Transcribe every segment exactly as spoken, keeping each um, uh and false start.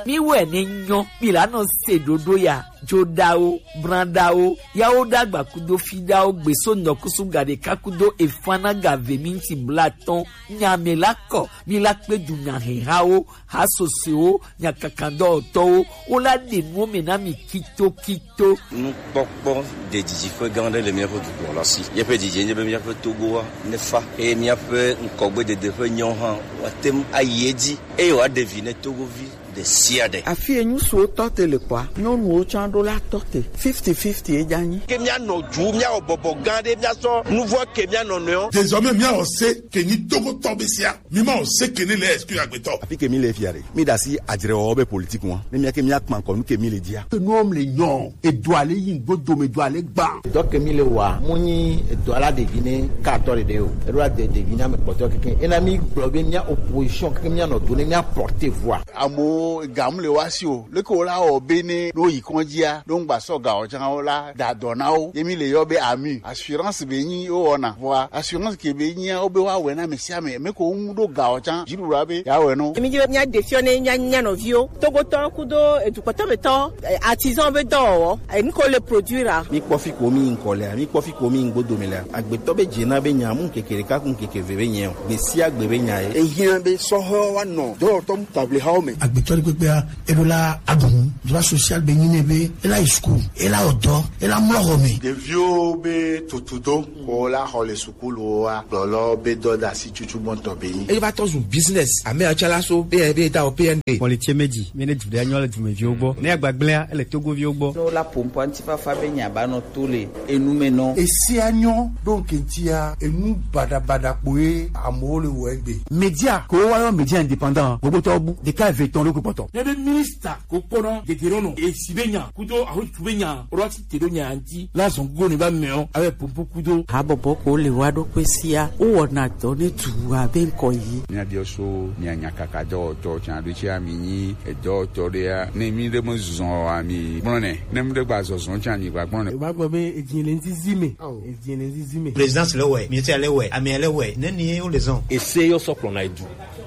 Mi wɛ ne nyɔ, mi la nɔ se ɖoɖo ya, joɖawo, branɖawo, yawo ɖagba kudo fiɖawo, gbeso nɔkusu gaɖeka kudo efanaga ve minti blatɔn, nya me la kɔ, mi la kpe du nya hehawo, ha sosewo, nya kakandɔtɔwo, wo la ɖe nuwo me na mi kito kito. Nukpɔkpɔ ɖe didiƒe gã aɖe le míaƒe dukplɔla si. Míaƒe didi nye be míaƒe Togoa nefa eye míaƒe ŋkɔgbedede ƒe nyawo hã woate ŋu ayi edzi eye wòaɖe vi ne Togovi ɖe sia ɖe. Afi enyu suwo tɔ te le kɔa, nyɔnuwo tsã ɖo la tɔ te. Fifty fifty edza nyi. Ke míanɔ du, míawɔ bɔbɔ gã ɖe, míasɔ nuvɔ ke míanɔ nɔewo. Désormais, míawɔ se ke nyi Togotɔ be sia. Mi ma o se ke ne le exclu agbetɔ. Afi ke mi le fia ɖe. Mi ɖe asi adzrewɔwɔ be politique ŋua. Ne mía ke mía kpa ŋkɔ nu ke mi le dzia. Ke nuwo le nyɔ. Edoa le yi ŋgbo dome, edoa le gba. Dɔ ke mi le wa, mo nyi edoa la ɖevi ne ka tɔ ɖeɖe o. Eɖo la de ɖevi na me kpɔtɔ keke. Ena mi gblɔ be mía opposition keke mía nɔ do ne mía porter voix. Amewo ga mu le wa si o. Leke wo la wɔ be ne ɖo yi kɔndzia, ɖo ŋgba sɔ ga o tsã wo la da dɔ na wo. Ye mi le yɔ be ami. Assurance be nyi wo wɔna. Vɔa assurance ke be nyia wo be wa wɛ na ame sia ame. Me ko ŋu ɖo ga o tsã. Dziɖuɖua be ya wɛ no. Mi dzi be mía ɖe fiɔ ne mía, mía nɔviwo. Togotɔ kudo edukpɔtɔ me tɔ, eh, artisan be dɔwɔwɔ. Eh, nu ko le produire a. Mi kpɔ fi ko mi ŋkɔ lea, mi kpɔ fi ko mi ŋgbo dome lea. Agbetɔ be dze na be nya mu ŋkeke ɖeka ku ŋkeke ve be nya o. Gbe sia gbe be nya ye. Ehiã be sɔhɛwo wa nɔ dɔwɔtɔ mu table hawo me. Agbetɔ ɖe kpekpea, eɖo la aɖu nu. Droit social be nyi ne be, ela yi school, ela wɔ dɔ, ela mlɔ xɔ me. Ɖeviwo be tutudo, ko la xɔ le sukulu wa, gblɔlɔ be dɔ da si tutu gbɔntɔ be nyi. Eye va tɔ zu business, ame atsala so, be, be da o P N B. Kpɔli tse me dzi, mi ne du ɖe anyɔ le dumeviwo gbɔ. Ne agbagblẽa, ele Togoviwo gbɔ. Ne wola ƒo ŋkɔ ŋutifafa be nya ba nɔ to le enu me nɔ. Esia nyɔ ɖo ŋke ŋutia, enu baɖabaɖa kpoe amewo le wɔ egbe. Média, ko woyɔ média indépendant, gbogbo tɔ bu, ɖeka eve tɔn ɖo kpɔtɔ. Ne be minista ko kpɔna dede ɖo nɔ, esi be nya, kudo ahotu be nya, ro ati te ɖo nya ŋuti, la zɔn go ne ba mɛ o, abe pompo kudo. Habɔbɔ ko le wa ɖo kpe sia, wo wɔna dɔ ne du abe ŋkɔ yi. Mía biɔ so, mía nya kaka dɔwɔtɔ, tsan ɖo tsi ami nyi, edɔwɔtɔ ɖe ya, ne mi ɖe me zɔn ami gblɔ nɛ, ne mi ɖe gba zɔzɔn tsi ami gba gblɔ nɛ. Eva gblɔ be edzi le ŋzizi me. Edzi le ŋzizi me. Présidence le wɛ, ministère le wɛ, amea le wɛ, ne ni wo le zɔn. Ese yɔ sɔ kplɔna edu.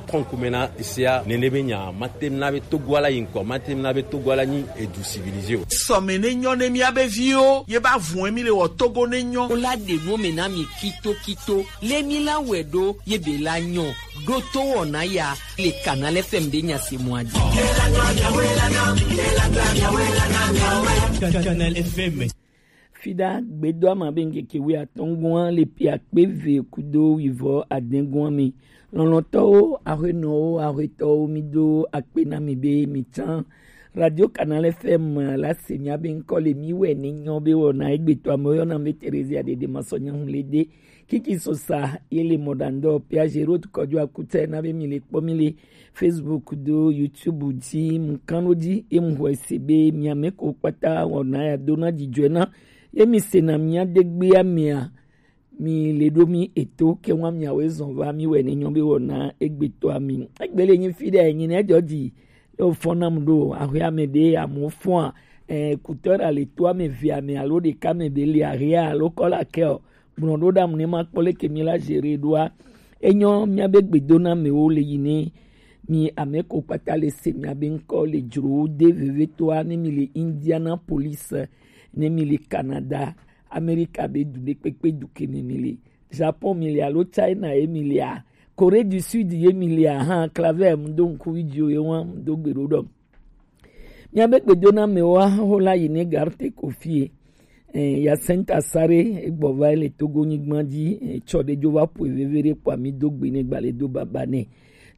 Kɔnkume na esea, nene be nya, mate na be Togo ala yi ŋkɔ, mate na be Togo ala nyi edu civilisé o. Sɔme ne nyɔ ne mía be viwo, ye ba vun mi le wɔ Togo ne nyɔ. Wo la ɖe nu me na mi kito kito. Le mi la wɛ ɖo, ye be la nyɔ. Ɖo to wɔna ya, le Canal F M be nya se mɔ adi. Canal F M. Fiɖa gbedoama be ŋkeke wuiatɔ̃ gɔ̃a le pi akpe eve kudo wuivɔ adẽ gɔ̃a me. Lɔlɔ̃tɔwo, axwenɔwo, axwetɔwo, mi do akpe na mi be mi tsã. Radio Canal F M la se mía be ŋkɔ le mi wɛ ne nyɔ be wɔna egbetɔ amewo yɔna be Theresia Dede Masɔnya Hulede. Kiki Sosa ye le mɔɖaŋdɔ Pia Gerot kɔjo akutɛ na be mi le kpɔ mi le Facebook do YouTube dzi mu kan ɖo dzi ye mu xɔe se be mia me ko kpata wɔna ya do na dzidzɔe na ye mi se na mia degbea mea mi le ɖo mi eto ke wa miawo ezɔn va mi wɛ ne nyɔ be wɔna egbetɔa mi. Egbe le nyi fi ɖe nyi ne edzɔ dzi ye wofɔ nam ɖo axɔe ame ɖe amewo fɔa eh, kutɔ ɖe le to ame ve ame alo ɖeka me be le ahia alo kɔla kɛ o. Gblɔ ɖo ɖa mu ne ma kpɔ leke mi la gérer ɖoa. Enyɔ mia be gbedona mewo le yi ne mi ame ko kpata le se mia be ŋkɔ le dzro de vevetoa ne mi le Indianapolis, ne mi le Canada, Amerika be du ɖe kpekpe du ke me mi le, Japon mi le alo China ye mi lea, Corée du Sud ye mi lea hã, Claver mu do ŋku video ye wa mu do gbe ɖo ɖɔ. Míabe gbedonamewo ahoho la yi ne Garte Kofie. Eh, Yacinthe Asare egbɔ va le Togo nyigba dzi, eh, tsɔ ɖe dzo va ƒoe veve ɖe kpɔa mi do gbe ne gbalẽ do baba nɛ.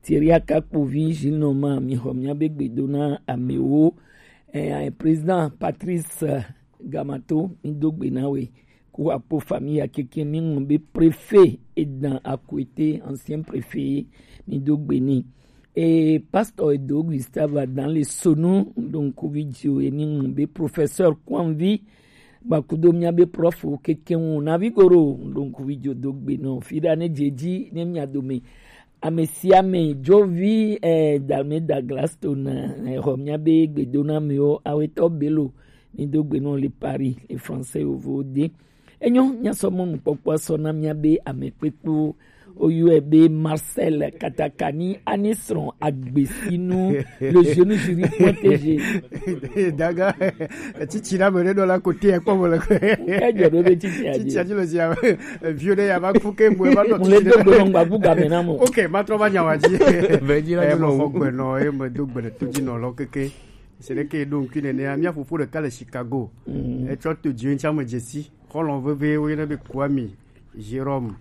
Thierry Akakpovi Gilles Norma mi xɔ míabe gbedona amewo. Eh, président Patrice eh, Gamato mi do gbe na we. Ku apo famille ya keke mi ŋlɔ be préfet Edan Akwete, ancien préfet mi do gbe ni. E pastor Edo Gustave Adan le Sonu, donc video e ni ŋlɔ be professeur Kwanvi, gbakudo mia be prof keke ŋu na vi goro, donc video do gbe no. Fi da ne dzeji ne mia dome. Ame sia ame, Jovi, eh, Dalme Douglas to na, eh, xɔ mia be gbedona mewo, awetɔ Bello, mi do gbe no le Paris, le français yovo de. Enyo, mia sɔ mɔnukpɔkpɔ sɔ na mia be ame kpekpewo. Oyɔe be Marcel Katakani, ani srɔ̃ agbesinu, le jeune jury point T G. Daga, titi na me ɖe nɔ la kote ekpɔ mo le. Ejɔ ɖo be titi a dzi. Titi a dzi le zia. Vieux ɖe ya va ku ke mo va nɔ. Mo le do gbe nɔ gbabu game na mo. Ok, ma trɔ va nya wa dzi. Vɛ dzi la. Eh, dzi mo lo. Xɔ gbe nɔ, eh, me do gbe le to dzi nɔ lɔ keke. Se ɖe ke ɖo ŋkui nenea, mía fofo ɖeka le Chicago. Mm. Etsɔ to dzi ŋtsã me dzesi. Xɔlɔ̃ veve woyɔna be Kwame Jérôme.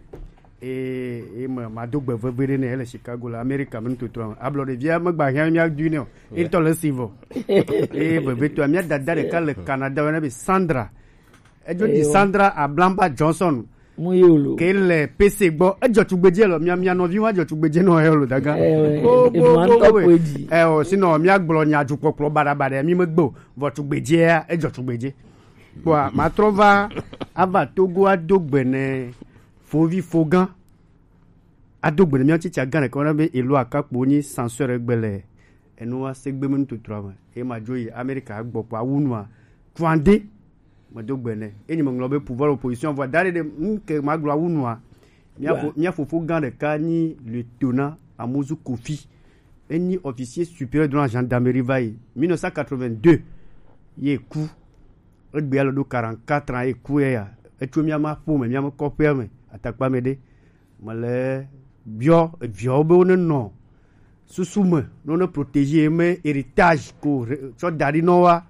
Eye eye me mado gbe veve ɖe nɛ ele Chicago le Amerika me nutotoa me. Ablɔ ɖevia megba hiã mía dui nɛ o. Ye ŋutɔ le si vɔ. Eye vevetoa mía dada ɖeka le Canada woyɔna be Sandra. Edzo di Sandra Ablamba Johnson. Mu ye lo. Ke le P C gbɔ. Edzɔ tugbedze lɔ. Mia, mia nɔvi wa dzɔ tugbedze nɔ he lo daga. Eh, ouais. Bo, bo, bo, bo, bo. Eh, o, sinon, mia gblɔ nya dzukpɔkplɔ baɖabaɖa, mi me gbe o. Vɔ tugbedzea, edzɔ tugbedze. Kpɔa, matrɔ va, ava Togo ado gbe ne fovi fogã. Ado gbe ne mia tsitsi agã ɖeka wɔna be elo akakpo nyi sansɔe ɖe gbe le. Enu wa se gbe me nututua me. Ema dzo yi Amerika gbɔ kpɔa, wu nua. Tuande. Medo gbe nɛ. Enyi meŋlɔ be pouvoir opposition vɔ da ɖe ɖe ŋke magblɔ awu nua. Mía fo-, mía fofo gã ɖeka nyi lieutenant Amozu Kofi. Enyi officier supérieur de la gendarmerie va yi. Mille neuf cent quatre-vingt-deux, ye ku. Egbea le ɖo quarante-quatre ans, ye ku ye ya. Etso mía ma ƒo me, mía me kɔƒea me, atakpa me ɖe. Mele biɔ eviawo be wone nɔ susu me, ne wone protéger ye me héritage ko re-, tsɔ da ɖi nɔ wa,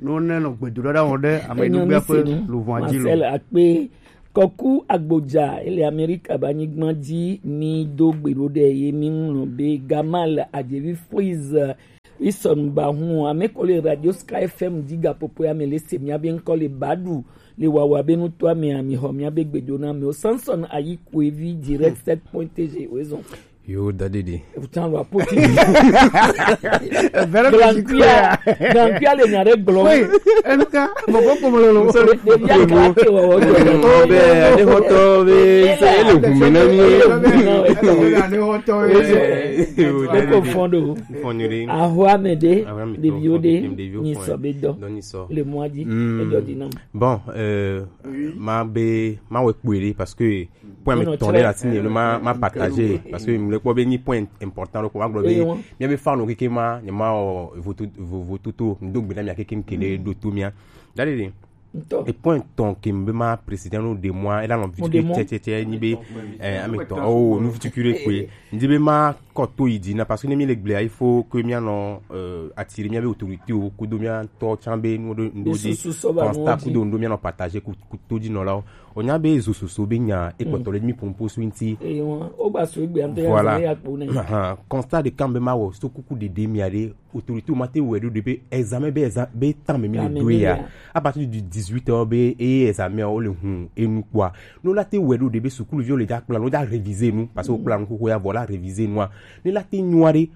ne wone nɔ gbedoɖa ɖa wɔm ɖe ame ɖogbia ƒe luʋɔa dzi lo. Marcel Akpe, Kɔku Agbodza, ele Amerika be anyigba dzi, mi do gbe ɖo ɖe ye mi ŋlɔ be Gamal Adjevi Freeze, Wilson Bahun, ame ko le Radio Sky F M dzi gaƒoƒoea me le se mía be ŋkɔ le Badu le wawa be nutoa mea, mi xɔ mía be gbedo na amewo. Samson Ayikwevi direct sept point T G, oezɔn. Yo, dadidi. Putain, lo apoti. Very Grandia, Grandia le nya ɖe gblɔ. Oui, enuka, mo ko ko mo lo. Ɖevia kake wɔ wɔ. Oh, be, ade hotɔ be, se ele hume na mi. Ade hotɔ be. Yo, dadidi. Ko fondo. Fɔnyiri. Ahwa me de, ɖeviwo de, ni sɔ be dɔ. Le mɔa dzi, edɔ di nam. Bon, euh, ma be, ma wɔ kpui ɖe, parce que point me tɔn ɖe la tine, ma, ma partager, parce que me kpɔ be ni point important, donc ma gblɔ be, mía be fan o keke ma, ne ma o voto, vo-, vototo, ndo gbe na mía keke kele ɖo to mía. Dadidi. Ŋutɔ. E point tɔn ke be ma président no de moi, e la nɔ vitukui tɛtɛtɛ ni be, eh, ame tɔn, oh, nu vitukui ɖe kpe. Ndi be ma kɔ to yi dzi na, parce que ne mi le gblea, il faut que mía nɔ, euh, attirer mía be autorité o, kudo mía tɔ tsan be nu ɖo, nu ɖo de constat kudo nu ɖo mía nɔ partager ku, ku to dzi nɔlawo. O nya be zo soso be nya, e kpɔtɔ le mi pompo so nti. Voilà. Ahan. Constat de kan be ma wɔ, so kuku dede mia ɖe, autorité ma te wɛ ɖo de be examen be exa-, be temps me mi le do ya. À partir du dix-huit heures be, e examen o le hun, e nu kpɔa. No la te wɛ ɖo de be sukuluviwo le dza kpla, no dza réviser nu, parce que o kpla nu xoxo ya vɔ la réviser nua. Ne la te nyua ɖe,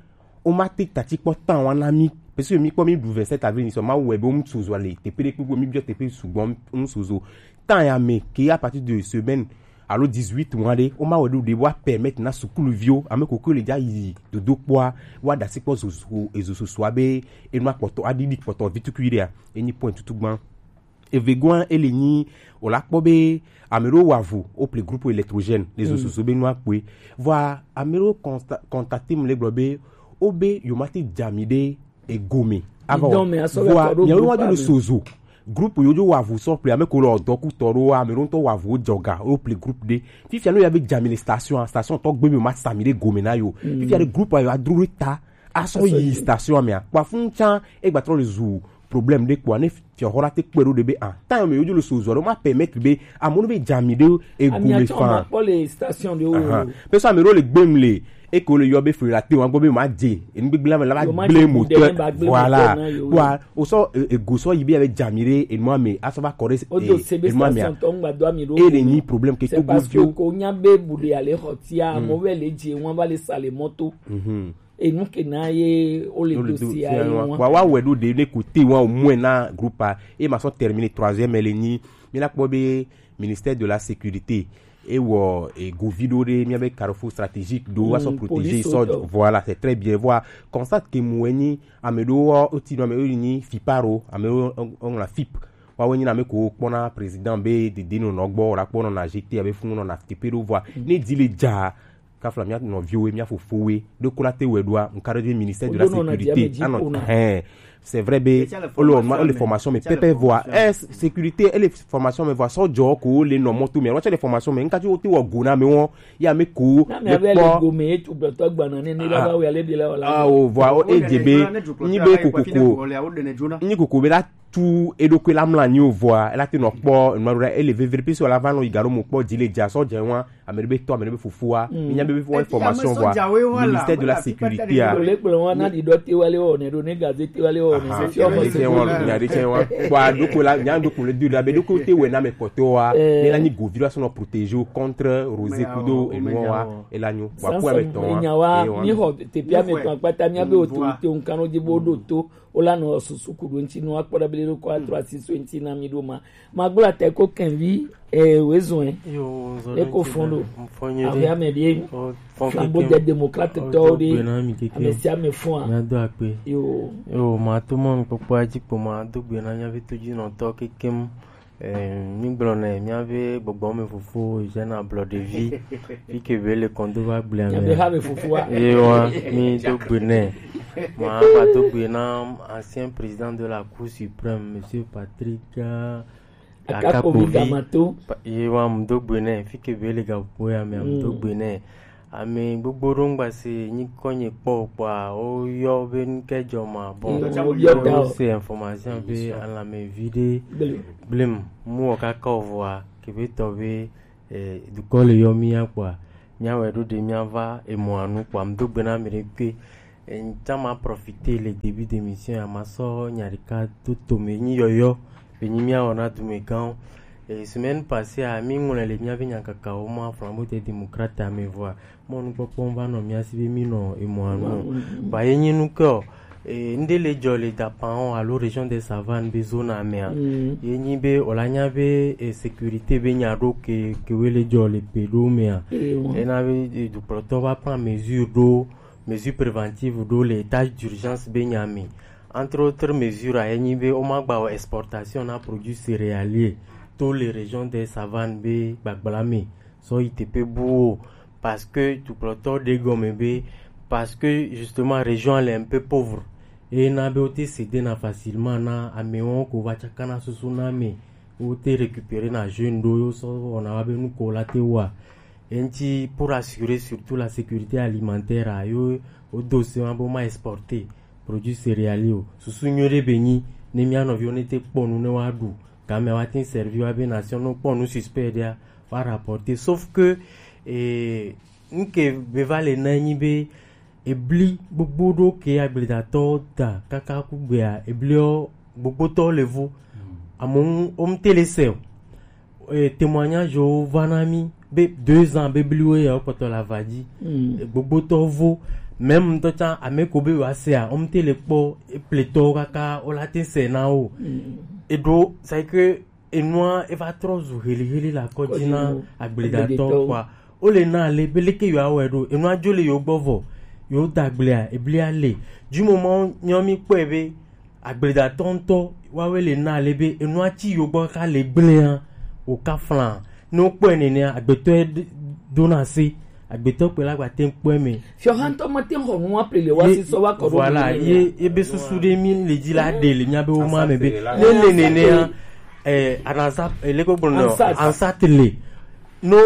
o ma te tati kpɔ temps wa na mi. Parce que mi kpɔ mi ɖu vingt-sept avril ni sɔ, ma wɛ be o mu sozo le, teƒe ɖe kpekpe mi biɔ teƒe sugbɔ o mu sozo. Temps ya me ke à partir de semaine, alo dix-huit mois ɖe, o ma wɛ ɖo ɖe wa permettre na sukuluviwo, ame koko le dza yi dodo kpɔa, wa ɖasi kpɔ zozo, ezo sosoa be, enu akpɔtɔ, aɖiɖi kpɔtɔ vitukui ɖea, enyi point tutu gbã. Evegoa ele nyi, o la kpɔ be, ame ɖewo wa vo, o ple groupe électrogène, le zo soso be nua kpoe. Vɔa, ame ɖewo consta-, contacter mu le gblɔ be, o be, yo ma te dza mi ɖe, egome. Ava wɔ. Vɔa, nyawo wa do le sozo. Groupe yo dzo wa vo sɔ ple ame ko le ɔdɔ ku tɔ ɖo, ame ɖo ŋutɔ wa vo jɔga, o ple groupe ɖe. Fifia no ya be dza mi le station, station tɔ gbe mi ma sa mi ɖe gome na yo. Fifia ɖe groupe yo adro ɖe ta, asɔ yi station mea. Kpa fun tsan, e gba trɔ le zu problème ɖe kpɔa, ne fiɔ xɔ la te kpe ɖo ɖe be, ah, ta yo me yo dzo le sozo, ɖo ma permettre be, amono be dza mi ɖe egome fan. Kpɔ le station ɖe o. Ahan. Pe so ame ɖo le gbem le, eke wole yɔ be fli la te wa gbɔ be ma dze enu gbegblẽ me la va gblẽ moteur. Voilà. Wa o sɔ, e, ego sɔ yi be ya be dza mi ɖe enua me, asɔ va kɔ ɖe, e, enua me a. E le nyi problème ke to go dio. Ko nya be bu de ale xɔ tia, mo ve le dze wan va le sa le moto. Enu ke na ye o le dossier ayi wan. Wa wa wɛ ɖo de ne ko te wan o moins na groupe a. E ma sɔ terminer troisième le nyi. Mi la kpɔ be ministère de la sécurité, e wɔ, e, govi ɖo ɖe mía be carrefour stratégique ɖo, wa sɔ protéger sɔ, voilà, c'est très bien. Voilà, constat ke mu enyi, ame ɖo wo ti nɔ ame ɖo nyi fiparo, ame ɖo ŋla fip. Wa wo nyi na ame ko kpɔna président be dede nɔ nɔ gbɔ, la kpɔnɔ na G T abe funu nɔ na tepe ɖo vɔa. Ne di le dza, Kafla mia nɔviwo, mia fofowo ɖo ko la te wɛ ɖoa, nka ɖe ministère de la sécurité anɔ hɛn. C'est vrai be o le o le formation me pɛpɛ voa ɛ sécurité e le formation me voa sɔjɔ ko le nɔ mɔto me wa tsɛ le formation me nka ti wo te wɔ go na me wɔn ya me ko na me be le go me etu gbɔtɔ gbana ne ne la ba wɛ ale bi la wala ah o voa o e je be nyi be kokoko nyi koko be la tu eɖokui la mla nyi o voa ela te nɔ kpɔ nɔ ɖo ele vevre pisi wala va nɔ yi garo mo kpɔ dzi le dza sɔjɔ wɔn ame ɖe be tɔ ame ɖe be fofoa mi nya be be wɔ formation wa ministère de la sécurité a. Le kplɔ wa na di dɔ te wale wɔ ne do ne gaze te wale wɔ ne se fi ɔmɔ se wɔ nya de tiɲɛ wa kpɔ a ɖokui la nya ɖokui le du la be ɖokui te wɛ na me kɔtɔ wa ne la nyi govi la sɔnɔ protéger contre rosé kudo enua wa ela nyo wa ku ame tɔn wa nya wa mi xɔ teƒe ame tɔn akpata mia be o to te nkan o di bo do to o la nɔ susu kudo ŋti nɔ akpɔ ɖe be ɖo kɔ atrɔ asi so ŋti na mi ɖo ma ma gblɔ ate ko kɛnvi eh, wezɔn ɛ yo zo ne ko fɔn ɖo mfɔnye abe ame ɖe flambo de démocrate tɔwo ɖe ame sia ame fɔn a mia do akpe yo yo ma to mɔ nukpɔkpɔ adzi kpo ma do gbe na nyavi to dzi nɔ tɔ kekem eh, mi gblɔ nɛ mia be gbɔgbɔ me fofo jeune ablɔ ɖevi fi ke be le kɔndo va gblea mia be ha me fofo a ye wa mi do gbe nɛ ma va do gbe na ancien président de la cour suprême monsieur Patrick Akakovi Gamato. Ye wa mu do gbe nɛ fi ke be le gaƒoƒo ya me mu do gbe nɛ ame gbogbo ɖo ŋgba se nyi kɔnye kpɔ kpɔa wo yɔ be nu ke dzɔ ma bon wo yɔ da o se information be alame vi ɖe blem mu wɔ kaka o vɔa ke be tɔ be eh, dukɔ le yɔ mi ya kpɔa mia wɛ ɖo ɖe mia va emɔa nu kpɔa mu do gbe na ame ɖe ke Ŋtsã ma profiter le début d'émission ya ma sɔ nya ɖeka do tome nyi yɔyɔ be nyi mia wɔna dumegãwo. E, semaine passée a mi ŋlɔe le miabe nyakakawo ma Flambeau des Démocrates ame vɔa mɔ nukpɔkpɔ va nɔ mia si be mi nɔ emɔa nu. Ba ye nyi nu ke o. E, ŋɖe le dzɔ le Dapan o alo région des Savanes be zone amea. Ye nyi be o la nya be e, sécurité be nya ɖo ke ke we le dzɔ le pe ɖo mea. Ena be e, dukplɔtɔ va prend mesure ɖo mesure préventive ɖo le état d'urgence be nya me. Entre autres mesures a enyi be woma gba wɔ exportation na produit céréalier to le région des Savanes be gbagbla me sɔ yi teƒe buwo parce que dukplɔtɔ ɖe gɔme be parce que justement région le un peu pauvre eye na be wote céder na facilement na amewo ko va tsaka na susu na me wote récupérer na jeune ɖo yo sɔ wɔna wa be nuko la te wa Eŋti pour assurer surtout la sécurité alimentaire a yo wodo se wa be ma exporter produit céréalier o. Susu nyuie ɖe be nyi ne mia nɔviwo ne te kpɔ nu ne wa ɖu game wa tin servi wa be nation no kpɔ nu suspect ɖea wa rapporter sauf que eh, nke be va le na nyi be ebli gbogbo ɖo ke agbledatɔwo da kaka ku gbea ebliwo gbogbotɔwo le vo amewo ŋu wo ŋte le se o e, témoignage wo va na mi be deux ans be bliwo ya wokpɔtɔ le ava dzi mm. Gbogbotɔ vo même ŋutɔ tsã ame ko be wa sea wo ŋte le kpɔ epletɔwo kaka wo la te se na wo mm. Eɖo c'est que enua eva trɔ zu heliheli le akɔ dzi na agbledatɔ kɔa wo le na ale be leke yewoawɔe ɖo enua dzo le yewo gbɔ vɔ yewo da agblea eblia le dzumɔ mawo nyɔ mi kpɔe be agbledatɔ ŋutɔ woawoe le na ale be enua tsi yewo gbɔ kaka le gblẽa wòka fla ne wokpɔe nenea agbetɔe dona se agbetɔ kpe la gba te ŋkpɔe me. Fiɔha ŋutɔ mate ŋu xɔ nua ple le woasi sɔ va kɔ ɖo voilà ye ebe susu ɖe mi le dzi la ɖe le mía be wo ma me be ne le nenea eh anasa eh, le gbogbo no ansat le no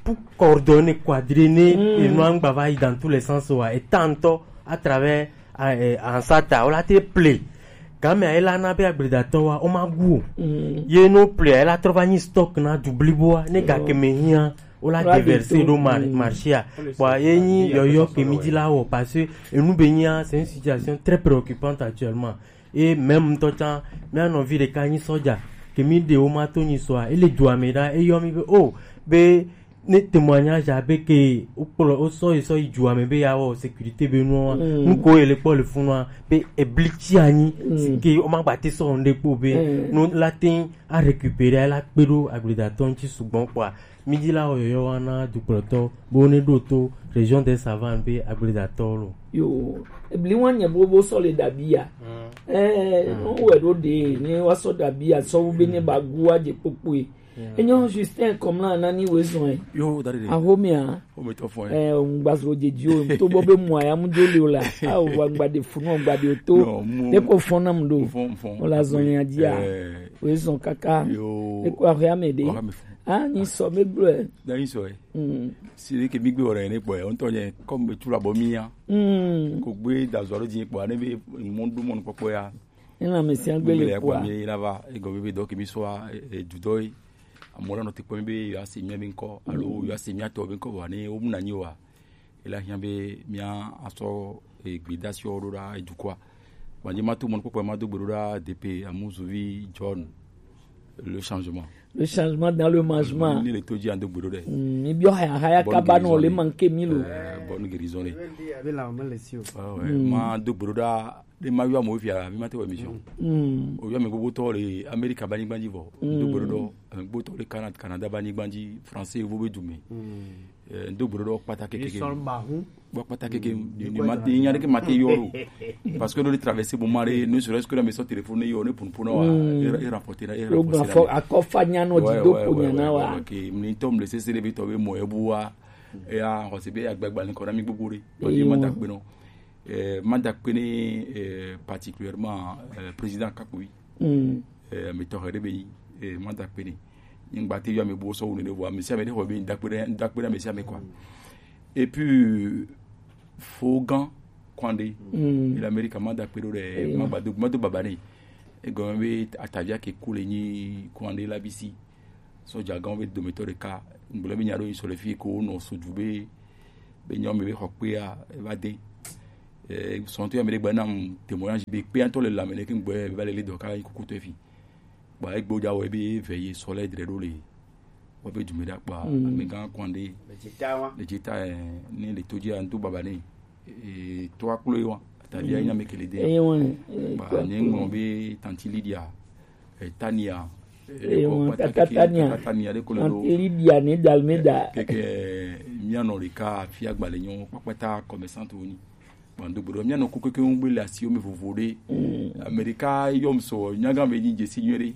pour coordonner coordonner mm. Et non ngba va dans tous les sens wa et tant à travers eh, ansat a ola te ple game a ela na be agbledatɔ wa o ma gu o ye no ple a ela trɔ va nyi stock na du blibo a ne ga ke me hia o la déverser ɖo marché a kpɔa ye nyi yɔyɔ ke mi dzi la wɔ parce que enu be nyia c'est une situation très préoccupante actuellement et même ŋutɔ tsã mía nɔvi ɖeka nyi sɔdza ke mi ɖe wo ma to nyi sɔa ele dua me ɖa eyɔ mi be o be ne témoignage abe ke wokplɔ wosɔ yi sɔ yi dua me be ya wɔ sécurité be nua nuko ye le kpɔ le funua be ebli tsi anyi si ke wo ma gba te sɔ ŋɖe kpo be no la te a récupérer la kpe ɖo agbledatɔ ŋuti sugbɔ kpɔa Midi la wɔ yɔyɔ wa na dukplɔtɔ bo ne ɖo to région des Savanes be agbledatɔwo lo. Yo, ebli wa nye bobo sɔ le dabi ya. Eh, no wɛ ɖo de ne wa sɔ dabi ya sɔ wu be ne ba gu wa je kpokpoe. Enyo Justin Komla nani wezɔn ɛ. Yo, dari de. Ahomia. Home to fun ɛ. Eh, ngbazo de dio to bo be mo aya mu joli ola. Ah, wa ngba de funu, ngba de to. No, mo. Ne ko fun na mu do. Fun, fun. Ola zɔn ya dia. Eh. Wezɔn kaka. Yo. Ne ko ahia me de. Wa me fun. Ah, ni so me gbe. Da ni so ɛ. Mm. Si de ke mi gbe ora ne po ɛ. On to nye comme tu la bo mi ya. Mm. Ko gbe da zo ro di po ne be mo du mo ko ya. Ina me si agbe le po. Mi la va e go be do ke mi so a, e, e du do yi. Amola no te po mi be ya si mi be nko. Alo ya si mi ato be nko wa ni o mu na ni wa. E la hiã be mía asɔ, e, gbedasi ɔ ɖo ɖa edu kɔa. Gbadze ma to mɔnukpɔkpɔ ma do gbe ɖo ɖa D P Amuzuvi John, le changement. Le changement dans le management. Ni le to dzi ando gbe ɖo ɖe. Mm, mi biɔ haya haya kaba no le manke mi lo. Eh, bonne guérison le. Be la me le si o. Ah ouais, ma do gbe ɖo ɖa. Ɖe ma yɔ amewo fia, mi ma te wɔ émission. Mm. O yɔ ame gbogbo tɔ le Amerika ba nyigba dzi vɔ. Mm. Do gbe ɖo ɖo, ame gbogbo tɔ le Canada, Canada ba nyigba dzi, français vo be du me. Mm. Eh, do gbe ɖo ɖo kpata keke. Sɔn ba hu. Bo kpata keke, ni, ni ma, ni nya ɖeke ma te yɔ ɖo. Parce que ɖo le traverser bon mare, ne serait-ce que dans mes téléphone yɔ, ne pun pun wa, e, e rapporter na, e rapporter na. Akɔfa nya no di do po nya na wa. Ok, mi tɔ mi le sese le bi tɔ be mo e bu wa. E ya, xɔse be agbagba ni kɔ na mi gbogbo ɖe. Bo di ma da gbe no. Eh, ma da kpe ne, eh, particulièrement, eh, président Kakui. Mm. Eh, mi tɔ xɛ ɖe be yi, eh, ma da kpe ne. Nyigba te yɔ ame bo sɔ wu ne vɔ, ame sia ame ɖe xɔ be da kpe ɖe, da kpe ɖe ame sia ame quoi. Et puis, Fogan Kwande, mm, il America ma da kpe ɖo ɖe, eyo, ma gba do, ma do baba ne. Egɔme be atavia ke ku le nyi Kwande la bisi. Sɔjagãwo be dometɔ ɖeka, ŋgblɔ be nya ɖo yi sɔ le fi ko wonɔ sudu be, be nyɔnu be xɔ kpea, eva de. Eh, sɔntɔ ya me ɖe gbe nam témoignage be kpea ŋutɔ le lame ne ke ŋgbɔ eva le le dɔ ka yi kuku tɔ fi. Ba egbe ja wɔ be ve ye sɔ le dre ɖo le. Wɔ be dume ɖa kpa, mm, amegã kɔn ɖe. Le dzi ta wa. Le dzi ta, eh, ne le to dzi a ŋdo baba ne. Eh, to akplo yi wa. Tadi a nya me ke le de. Eh, wa, eh, ba ne ŋmɔ be tanti Lydia. Eh, Tania. Eh, Eyo, ko kpata Tata keke, Tania. Tata Tania ɖe ko le ɖo. Anti Lydia ne Dalmeda. Keke, mía nɔ ɖeka afi agba le nyɔ, kpakpata commerçante wonyi. Bon, do gbeɖo, mía nɔ ku keke ŋu gbe le asiwo me vovo ɖe. Mm. Amerika yɔm sɔ, nyaga me nyi dzesi nyuie ɖe.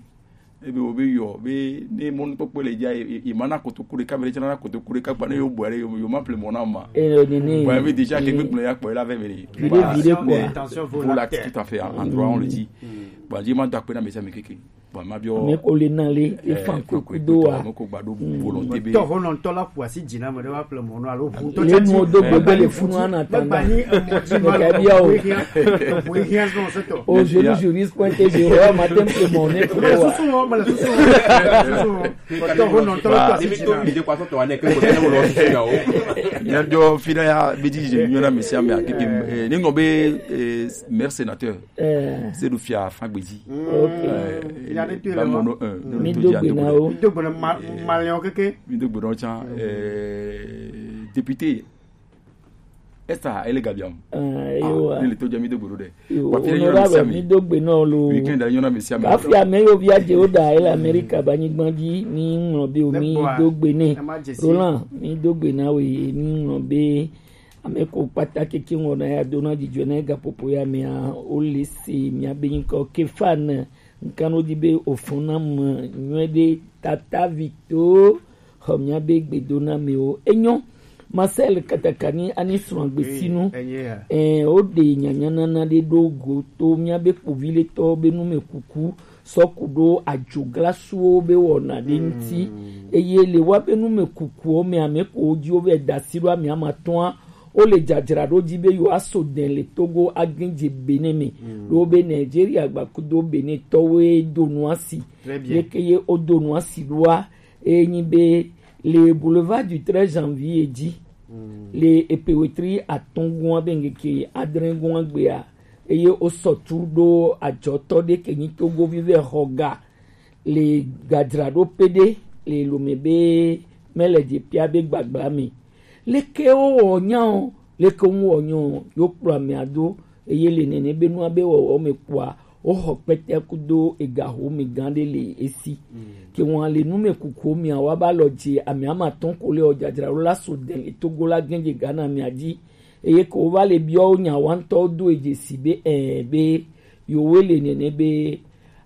Ebe wo be yɔ, be ne mɔnukpɔkpɔ le dza, e, e, e ma na kotoku ɖeka, be ɖe tsɛ na kotoku ɖeka, gba ne yo bɔ ɖe, yo, yo ma ple mɔ na ma. Eyo, nene. Bon, ebe déjà ke gbegblẽ ya kpɔ, la ve me ni. Vide, vide, quoi. Voilà, tout à fait, en, en droit, on le dit. Mm. Bon, je m'en dois na mesa me keke. Bon, ma bio. Mais ko le na le, e fan ko kudo wa. Mo ko gba do volonté be. Tɔ ho nɔ tɔ la ƒo asi dzi na me ɖe va ƒle mɔ nɔ alo ʋu tɔ. Le mo do gbegbe le funu ana tanda. Megba nyi emɔ dzi ma le ʋu hiã, ʋu hiã zɔn se tɔ. Aujourd'hui, je risque point que je vois matin ƒle mɔ ne. Me le susu wɔm, me le susu wɔm, me le susu wɔm. Tɔ ho nɔ tɔ la ƒo asi dzi na. Mía biɔ fi ɖe ya, be dzi dzi nyɔ na mesi ame akeke, eh, ne ŋlɔ be, eh, maire sénateur. Eh. Sedu Fia Fagbedzi. Ok. Eh, ya de tu ba le mo mo. No, eh, mi do gbe na wo. Mi do gbe na ma, malien keke. Mi do gbe na wo tsã, eh, député. Esta ele gabiam. Eh, yo, ah, wa. Ni le to je mi do gbe ɖo ɖe. Yo, wa fi le nyɔ na mesi ame. Mi do gbe na wo lo. Weekend le nyɔ na mesi ame. Kafi ame yo via je o da ele America ba nyigba dzi ni ŋlɔ be o mi do gbe ne. Roland, mi do gbe na we ni ŋlɔ be Ame ko kpata keke ŋɔ na ya do na dzidzɔ na gaƒoƒo ya mea, wo le se mía be nyikɔ Kefan, nkan wo di be o fɔn na me nyuie ɖe tata vito, xɔ mía be gbedo na me o. Enyo, Marcel Katakani ani srɔ̃ agbesinu. Oui, enye ya. Eh, o de nyanya nana ɖe ɖo go to mía be kpovi le tɔ be nu me kuku. Sɔ ku ɖo adzo glasuwo be wɔna ɖe ŋuti. Eye le woabe numekukuwo me, ame ko wodziwo vɛ da asi ɖo ame amatɔ̃a, wole dzadzraɖo dzi be yewoaso dɛn le Togo agẽ dze Benin me. Ɖo be Nigeria gbakudo Benin tɔwoe do nua si. Leke ye wodo nua si ɖoa, eye nyi be le boulevard du treize janvier dzi, le epewetri atɔ̃ gɔ̃a be ŋkeke adre gɔ̃a gbea, eye wosɔ tu ɖo adzɔtɔ ɖe ke nyi Togovi vɛ xɔ ga le gadzraɖoƒe ɖe le lome be mele dze pia be gbagbla me. Leke wowɔ nya o, leke wowɔ nya o, yewo kplɔ amea do, eye le nene be nua be wɔwɔ me kpɔa, woxɔ kpɛtɛ kudo egaxo me gã ɖe le esi. Ke wɔn le nume kukuwo mea, woaba lɔ dze amea ma tɔn ko le ɔ dzadzraɖo la so de le Togo la gɛ̃ dze Ghana mea dzi. Eye ke wova le biɔ wo nya wa ŋutɔ do e dzesi be, ɛ, be yewo le nene be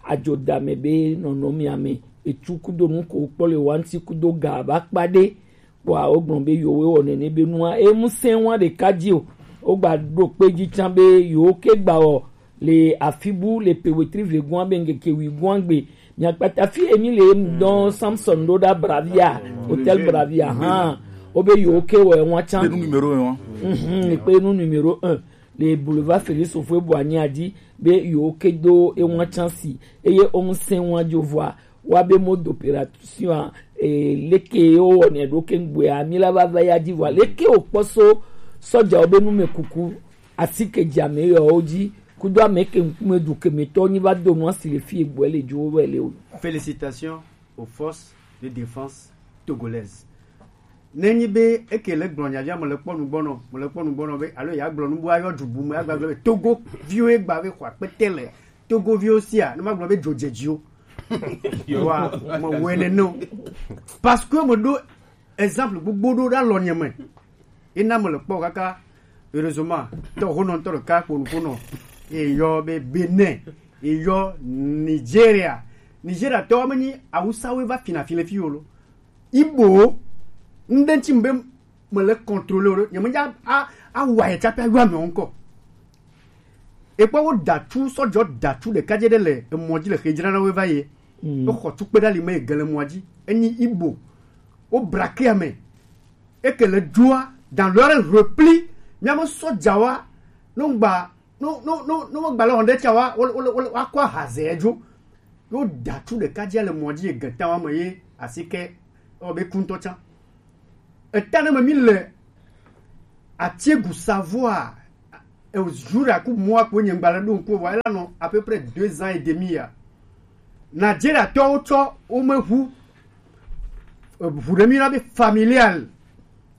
adzodame be nɔnɔmea me Etsu kudo nu ko kpɔ le wa ŋuti kudo ga ba kpa ɖe. Kpɔa wogblɔ be yewo wɔ nene be nua emu sɛn wa ɖeka dzi o. Wogba ɖo kpe dzi tsã be yewo ke gba wɔ le afi bu le pe wetri vegɔa be ŋkeke wigɔa gbe. Miakpata fi emi le emu dɔn Samson ɖo ɖa Bravia, hotel Bravia hã. Wobe yewo ke wɔ ewa tsã. Be nu numéro un wa. Mhm, kpe nu numéro un le boulevard Félix Houphouët-Boigny a dzi be yewo ke do ewa tsã si eye womu sɛn wa dzo vɔa wa be mode d'opération a e, leke wowɔnɛ ɖo ke ŋgbea mi la va va ya dzi vɔa leke wokpɔ so sɔdzawo be numekuku asike dzi ame yɔwo dzi kudo ame ke ŋkume du kemetɔ nyi va do nu asi le fi egbɔe le dzo wɛ le o. Félicitations aux forces de défense togolaises. Ne nyi be eke le gblɔ nya via me le kpɔ nugbɔnɔ me le kpɔ nugbɔnɔ be alo ya gblɔ nu bu ayɔ du bu me agba gblɔ be Togo viwo egba be xɔ akpete le Togo viwo sia ne ma gblɔ be dzodzedziwo. Wa me wɔe nene o. Parce que me ɖo exemple gbogbo ɖo ɖe alɔnye me. Ena me le kpɔ kaka heureusement tɔ honɔ ŋutɔ ɖeka ƒo nu ƒonɔ eyɔ be Benin eyɔ Nigeria. Nigeria tɔwo menyi awusawoe va fina fi le fi o lo. Igbowo ŋɖe ŋuti be mele contrôler o ɖo nyemedze a- a- awɔ ayɛ tsaƒe ayɔ amewo ŋkɔ. Ekpɔ wo datsu sɔdzɔ datsu ɖeka dze ɖe le emɔ dzi le xe dzrana wo va ye. Mm. Exɔ tukpe ɖe ali me yi ge le mɔa dzi. Enyi Igbo. Wo braquer ame. Eke le dua dans leur repli. Miame sɔdzawoa no gba no no no no gba le wɔn ɖe tsa wa wo wo wo akɔ ahaze dzo. Yo datsu ɖeka dzi le mɔa dzi yi geta wa me ye asike ewɔ be kuntɔ tsã. Eta ne me mi le Atiegu Savoie, eh, Jura ku mɔa ko nye gbalẽ ɖo ŋku vɔ ela nɔ à peu près deux ans et demi ya. Nigeria tɔwo tsɔ wo me ʋu eh, ʋu ɖe mi na be familial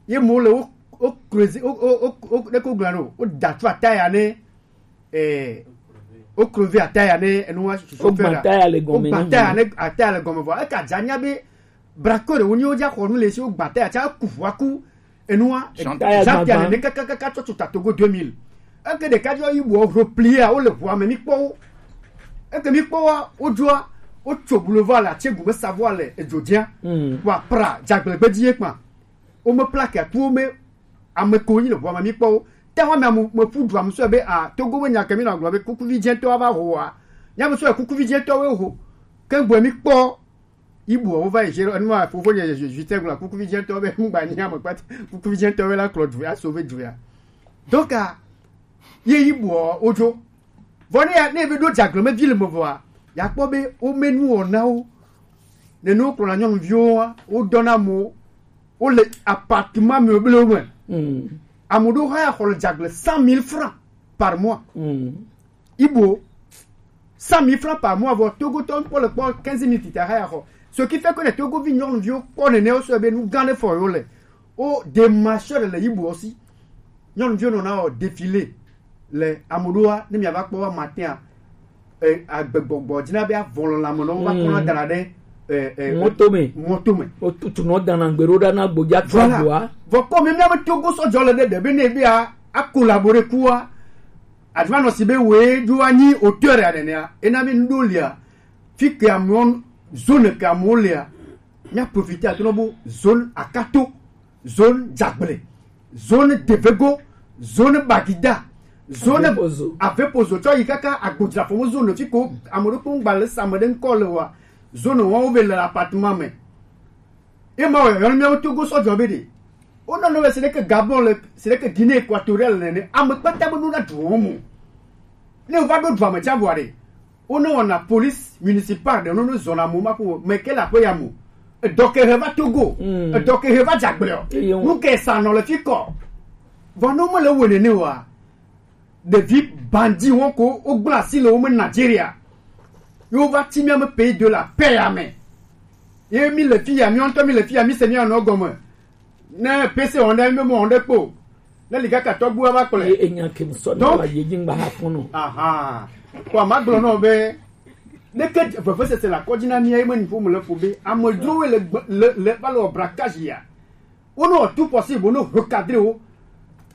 ye mo le wo wo creuser wo wo wo wo ɖe ko gblɔ ɖo wo da tso ataya ne eh, wo crever ataya ne enu wa susu Wogba fera. Ataya le gɔme Wogba na ataya ʋu. Ne ataya le gɔme vɔ eka dza nya be braqueur ɖewo nyi wodza xɔ nu le esi wogba taya tsa ku ʋua ku enua Jean Pierre Jean Pierre gbagba. Nene kakakaka tsɔ tso ta Togo deux mille. Eke ɖeka dzɔ yi bɔ replia wole ʋua me mi kpɔ wo. Eke mi kpɔ wa wodzoa wotso boulevard le Atsegu me Savoie le edzo dzia. Mm. Wa pra dzagblẽgbe dzi ye kpa. Wo me plaque atu wo me ame ko nyi le ʋua me mi kpɔ wo. Te wa me amu me ƒu du amu sɔ be a Togo be nya ke mi nɔ agblɔ be kukuvi dzɛtɔ va ho wa. Nya me sɔ kukuvi dzɛtɔ wo ho. Ke gbe mi kpɔ Ibu wo va yi zero enu ma fofo nye je je te gblɔ kukuvi dzɛtɔ be ŋgba nya me kpata kukuvi dzɛtɔ be la kplɔ du ya sauver du ya. Donc a ye ibu wodzo. Vɔ ne ya ne be ɖo dzagbleme vi le me vɔa ya kpɔ be wo me nu wɔnawo. Ne no kplɔ na nyɔnuviwo wa wo dɔna mo wo le appartement meublé wo me. Mm. Amuɖo hã ya xɔ le dzagle cent mille francs par mois. Mm. Ibo cent mille francs par mois vɔ Togotɔ ŋkpɔ le kpɔ quinze mille tita haya xɔ. Ce qui fait que les Togovi nyɔnuviwo kpɔ nene wo sɔ be nu gã ɖe fɔ yo le. Wo démarcheur le Ibo si. Nyɔnuviwo nɔna wɔ défilé le amoɖoa ne miava kpɔ wa matin a. Eh, agbegbɔgbɔ dzina be avɔlɔ lame nɔ va kpɔna dana ɖe eh, eh, mɔto me mɔto me. Wotutu nɔ dana gbe ɖo ɖa na gbodza kpɔ agboa. Vɔ kɔ mi miabe Togo sɔdzɔ le ɖe ɖe be ne be a a collaborer kua. Aduma nɔ si be woe dzo anyi auteur ya nenea ena mi ŋɖo lia fi ke amewo zone ke amewo lia mia profiter ato nɔ bo zone Akato, zone Dzagble, zone Devego, zone Bagida, zone Avepozo. Avepozo tsɔ yi kaka Agbodzrafɔmo zone fi ko ame ɖokpo ŋgba le sa ame ɖe ŋkɔ le wa zone wɔn wo be le appartement me. Ye ma wɔ yɔn miawo Togo sɔdzɔ be de. Wonɔ nɔ be se ɖeke Gabon le se ɖeke Guinée Équatoriale nene ame kpata be ɖo na du wɔn mo. Ne wova ɖo dua me tsa vɔa ɖe wonɔ wɔna police municipale ɖe wonɔ zɔna mo ma ƒo me ke le aƒe ya mo. Edɔ ke he va Togo. Mm. Edɔ ke he va dzagbleɔ. Eye wo- Nu ke sa nɔ le fi kɔ. Vɔ no me le wo nene wa. Ɖevi bandit wɔn ko wogblẽ asi le wo me Nigeria. Ye wova ti mía me pays de la paix ya me. Ye mi le fi ya, mi ŋutɔ mi le fi ya, mi se mía nɔ gɔme. Ne pese wɔn ɖe, mi me wɔn ɖe kpo. Ne ligaka tɔgbu ava kplɔe. Ye enya ke sɔ ne Donc- wa ye dzi ŋgba ha fɔnɔ. Aha. Kɔ ma gblɔ nɔ be. Ne ke vevesese la kɔdzi na mía ye me nuƒo me le ƒo be amedzrowo le gbe- le le va le wɔ braquage ya. Wonɔ tout possible wonɔ recadrer wo.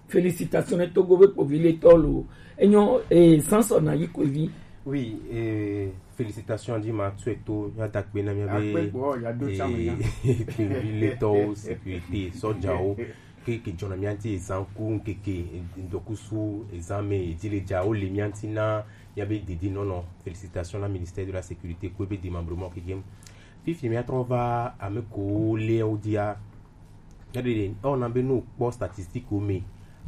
Félicitations ne Togo be kpovi le tɔ lo. Enyo eh, Samson na yi kpovi. Oui, eh, félicitations, dit Matsueto, ya dakpena mia be. Akpekpo, ya do chama ya. Eh, le to sécurité, sojawo, ke ke jona mia ti ezan ku ke ke ndokusu ezan me di le ja o le mia ti na ya be didi non non. Félicitations na ministère de la sécurité ko be démembrement ke game. Fifi mia tro va ame ko le o dia. Regarde, on a be no kpɔ statistique o me.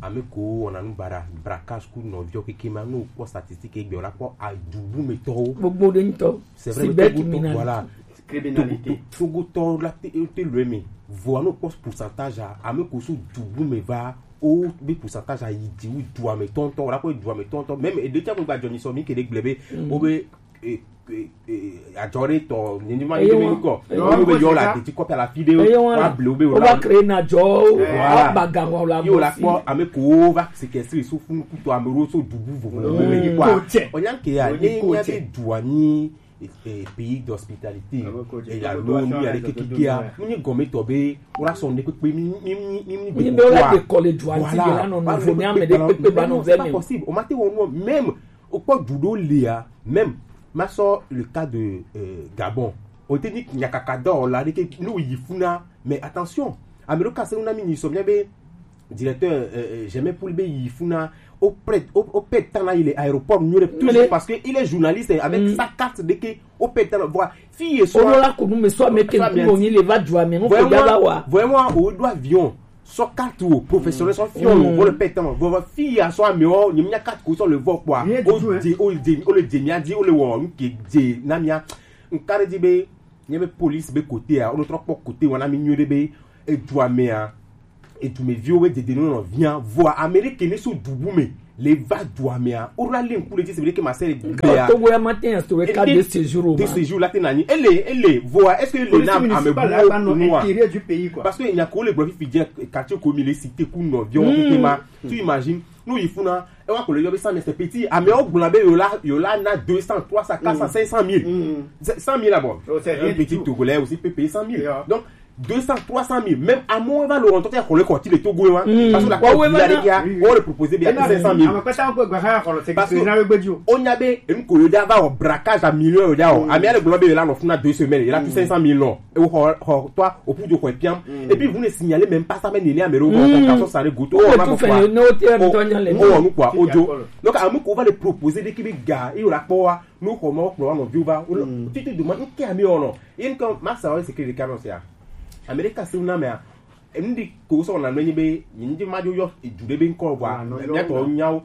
Ame ko on a nu bara braquage ku nɔviɔ keke ma no kpɔ statistique egbe o la kpɔ adubu me tɔwo. Gbogbo de ŋutɔ. C'est vrai, le Togo tɔ, voilà. Criminalité. Togo tɔ la te te le me. Vo no kpɔ pourcentage a, ame ko so dubu me va o be pourcentage a yi di wu du ame tɔntɔ, o la kpɔ du ame tɔntɔ. Même e de tsa ko gba jɔ ni so mi ke de gble be o be e e e ajɔ ɖe tɔ nyinyi ma yi ɖe mi kɔ. Wo be yɔ la deti kɔpi ala fi ɖe wa ble wo be wo va créer na jɔ. Voilà. Aba ga wa la yi wo la kpɔ ame ko wo va séquestrer so funu kutɔ ame wo so dubu vovovo me yi kɔ. O nya ke ya ne nya be du anyi pays d'hospitalité. E ya lo nu ya ɖe kekekia nu nyi gɔme tɔ be wo la sɔ ne kpekpe mi mi mi mi mi be wo la de kɔ le du anyi la nɔ nɔ vo mi ame ɖe kpekpe ba nɔ vɛ mi. Possible o ma te wɔ nu même. Wokpɔ du ɖewo lia, même ma sɔ le cas de euh, Gabon. O te ni nyakaka dɔwɔla ɖe ke nu yi funa, mais attention, ame ɖewo kase na mi nyi sɔ mia be directeur euh, euh, jamais pour be yi funa o prêt o o pɛ tan na yi le aéroport nyuie tout de suite parce que il est journaliste avec sa carte de ke o pɛ tan na voilà fi ye so o la ko nu me so me ke ku mo ni le va du ame mo ko ya ba wa. Vraiment o do avion sɔ carte wo professionnel sɔ fiɔ lo vɔ le pɛ tama vɔ fi ya sɔ ame wo nyem nya carte ko sɔ le vɔ kpɔa o de o de o le de mia di o le wɔ nke de na mia nkare di be nye be police be kote a o le trɔ kpɔ kote wa na mi nyo de be edu amea edu me viwo be dede no nɔ via vɔ Amérique ne so dubu me le va dua mea o la le nku le ti se be ke ma se le gbe ya. Togo ya matin ya so we ka de séjour o de ma séjour la te na ni ele ele voa est-ce que le na ame bu no a intérieur du pays quoi. Parce que il y a ko le gbo fi je quartier ko mi le cité ku no vion ke ma tu imagines nous il faut na e wa ko le yo be cent mille c'est petit ame o gbona be yo la yo la na deux cents trois cents quatre cents cinq cent mille cent mille là-bas. Un petit Togolais aussi peut payer cent mille donc deux cents trois cent mille même à mon va le rentrer pour le quartier de Togo hein. Parce que la quoi ouais là qui a on le proposé bien cinq cent mille. Parce que on a be une ko yo da va au braquage à millions yo da o ami ale glo be là on a deux semaines il a tout cinq cent mille non et au toi au plus de quoi piam et puis vous ne signalez même pas ça mais il est à me revoir ça ça le goût on va quoi on nous quoi audio donc à nous qu'on va le proposer dès qu'il gars il la quoi nous comment on va nous va tu te demandes qui a mis on non il comme ma ça c'est que les canons c'est Amerika se na me a ndi ko so na no nyi be ndi ma jo yo du de be nko bwa me to nyawo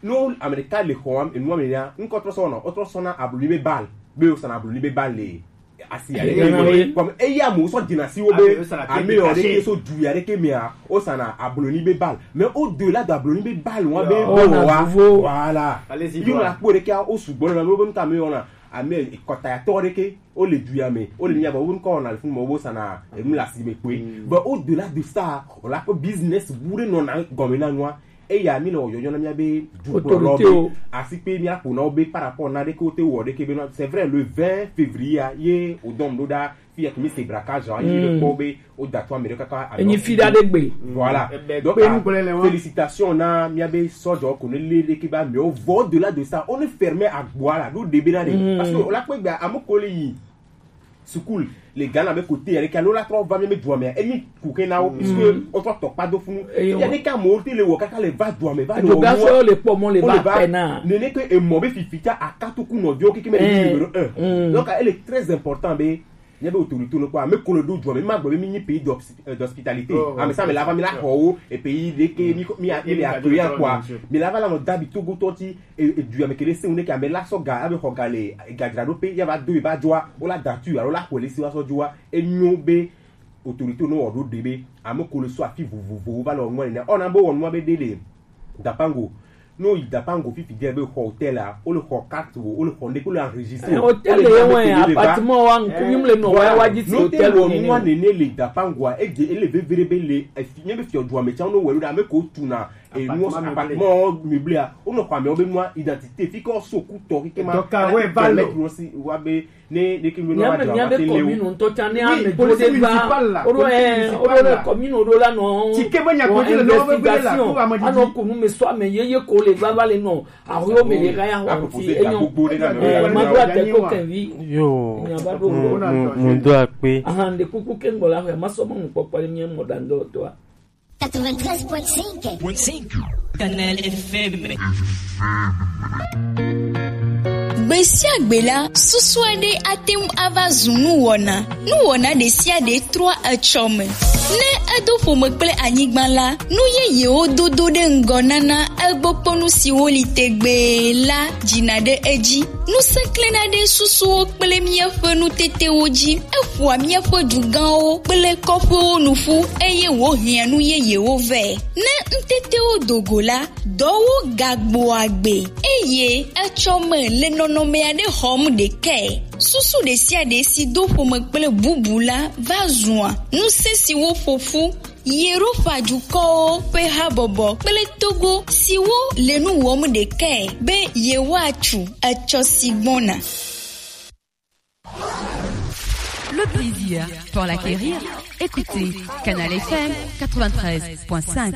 no Amerika le ho am enu me ya nko tro so no o tro so na abulu be bal be o sana abulu be bal le asi ya le comme e ya mo so dina si wo be ame o de ke so du ya de ke me a o sana abulu ni be bal mais au delà de abulu ni be bal wa be o wa voilà allez-y yo la pour de ke o su bon na lo be nka me ona ame kota ya to de ke o le du ya me o le nya ba wo nko na fun mo wo sana e mu la si me pe but au delà de ça on la ko business bouré non na gomina noa e ya mi no yo yo na mi be du ko lo be asi pe mi a ko na o be par rapport na de ko te wo de ke be no c'est vrai le vingt février ye au dom do da fi ya mi se braquage en ye ko be o da to Amerika ka enyi fi da de gbe voilà donc félicitations na mi be sojo ko ne le de ke ba mais au delà de ça on est fermé à boire là do de be na de parce que on la ko gba amukole yi sukulu le Ghana be kote ya le ka lo la trɔ va mi me du ame e ni ku ke na o puisque o trɔ tɔ kpa do funu ya de ka mo te le wo kaka le va du ame va le wo ga so le po mo le va pe na ne ne ke e mo be fifita akatu ku no dio ke ke me le numéro un donc elle est très important be nye be autorité no kwa me ko le do du ame ma gbe be mi ni pays d'hospitalité ame sa me la va mi la ho o et pays de ke mi mi a mi le accueillant quoi mi la va la no dabi Togo to ti e e du ya me kele se une ke ame la so ga abe ho ga le ga dra do pe ya ba do e ba joa o la datu alo la ko le si wa so joa e nyo be autorité no o do de be ame ko le so afi vovovo ba lo nwa ne ona bo won nwa be de le dapango no yi dapango fifi de be hotel a o le ho carte o o le ho ne ko le enregistrer hotel e won appartement wa nku mi le no wa wa ji si hotel o ni nwa ne ne le dapango a e de e le vevere be le e fi ne be fi o joa me chan no we lo da me ko tu na Et nous, appartement meublé, ah, on a quoi, mais on veut moi identité. Fi ko so ku to ki ma. Donc, ah, ouais, permettre aussi, ouais, be, ne, ne ki me. Miabe, miabe commune ŋutɔ tsa ne ame do de va. Woɖo, eh, woɖo le commune woɖo la nɔ. Tike me nya ko le nɔ be le la ko ame. Anɔ kunu me so ame yeye ko le va va le nɔ. Awo me le ga ya ho ti enyo. Eh, ma do ate ko kenvi. Yo. Nya ba do. Mo, mo, mo do akpe. Aha, nde kuku ke ŋgbɔ la ho, ma so mo kpɔkpɔ le mi mo da ndo to a. Quatre-vingt-treize point cinq. Canal F M. Gbe sia gbe la, susu aɖe ate ŋu ava zu nuwɔna. Nuwɔna ɖe sia ɖe trɔa etsɔ me. Ne edo ƒome kple anyigba la, nu yeyewo dodo ɖe ŋgɔ nana egbɔkpɔnu siwo li tegbee la dzina ɖe edzi. Ŋusẽ klẽna ɖe susuwo kple míaƒe nutetewo dzi. Eƒoa míaƒe dugãwo kple kɔƒewo nu ƒu, eye wòhiã nu yeyewo vɛ. Ne nutetewo do go la, dɔwo gagbɔa agbe, eye etsɔ me le nɔnɔme aɖe xɔm ɖekae. Susu ɖe sia ɖe si do ƒome kple bubu la va zua ŋusẽ siwo ƒo ƒu Yerofa dukɔwo ƒe habɔbɔ kple togo siwo le nu wɔm ɖekae be yewoatu etsɔ si gbɔna. Le plaisir pour l'acquérir. Écoutez Canal F M quatre-vingt-treize point cinq.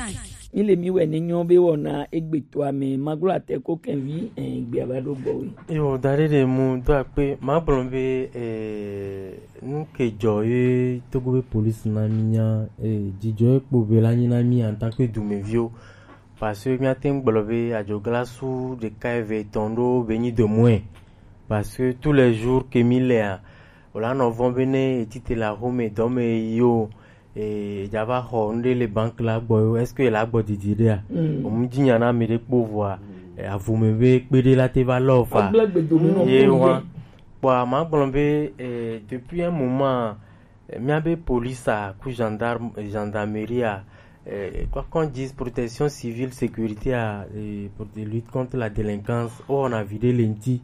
Mi le mi wɛ ne nyɔ be wɔna egbetɔa me maglo ate ko kɛnvi, eh, gbea va ɖo gbɔwe. Yo, da ɖe ɖe mu do akpe, ma gblɔ be, eh, nu ke dzɔ ye Togo be police na mi nya, eh, dzidzɔ ye kpo be la nyi na mi en tant que dumeviwo. Parce que míate ŋu gblɔ be adzoglasu ɖeka eve etɔ̃ ɖo be nyi de moins. Parce que tous les jours ke mi lea, wòla nɔ vɔ̃ be ne etite le axome dɔ me yi o, eh, edza va xɔ nu ɖe le banque la gbɔ yo, est-ce que la gbɔ didi ɖea? Mm. Omu dzi nya na ame ɖe kpo vɔa, eh, avu me be kpe ɖe la te va lɔ fa. Agble gbedomu nɔ ye kpo wa. Kpɔa, ma gblɔ be, eh, depuis un moment, eh, míabe police a ku gendarme, gendarmerie a, eh, quoi qu'on dise, protection civile, sécurité a, eh, pour de lutte contre la délinquance, o, on a vidé lenti.